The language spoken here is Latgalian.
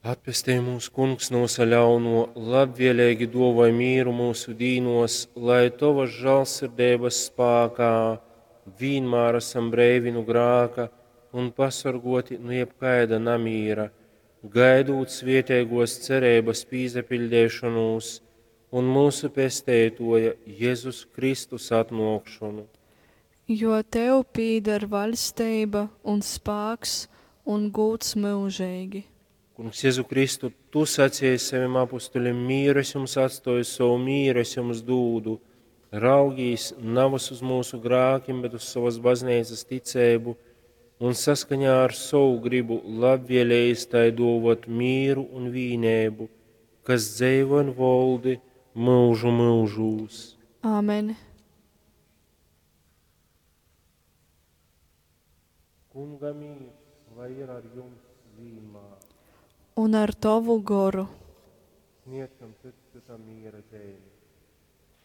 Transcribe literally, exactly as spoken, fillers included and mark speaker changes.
Speaker 1: Atpestej mūs, Kungs, nu vysa ļaunuo, labvieleigi duovoj mīru myusu dīnuos, lai Tovas žālsirdeibas spākā vīnmār asam breivi nu grāka un pasorguoti nu jebkaida namīra, gaidūt svieteiguos cereibys pīsapiļdeišonūs un myusu Pesteituoja Jezus Kristus atnuokšonu.
Speaker 2: Jo Tev pīdar vaļsteiba un spāks un gūds myužeigi.
Speaker 1: Kungs Jezu Kristu, Tu saceji savim apustulim, mīru es jums atstoju, sovu mīru es jums dūdu. Raugīs navys uz mūsu grākim, bet uz sovas bazneicas ticeibu un saskaņā ar sovu gribu labvēlējis tai duovot mīru un vīneibu, kas dzeivo un voldi mūžu mūžūs.
Speaker 2: Āmen.
Speaker 1: Kunga mīrs, lai ir ar jums vienmēr.
Speaker 2: Un ar Tovu goru.
Speaker 1: Sniegsim cits citam miera zīmi.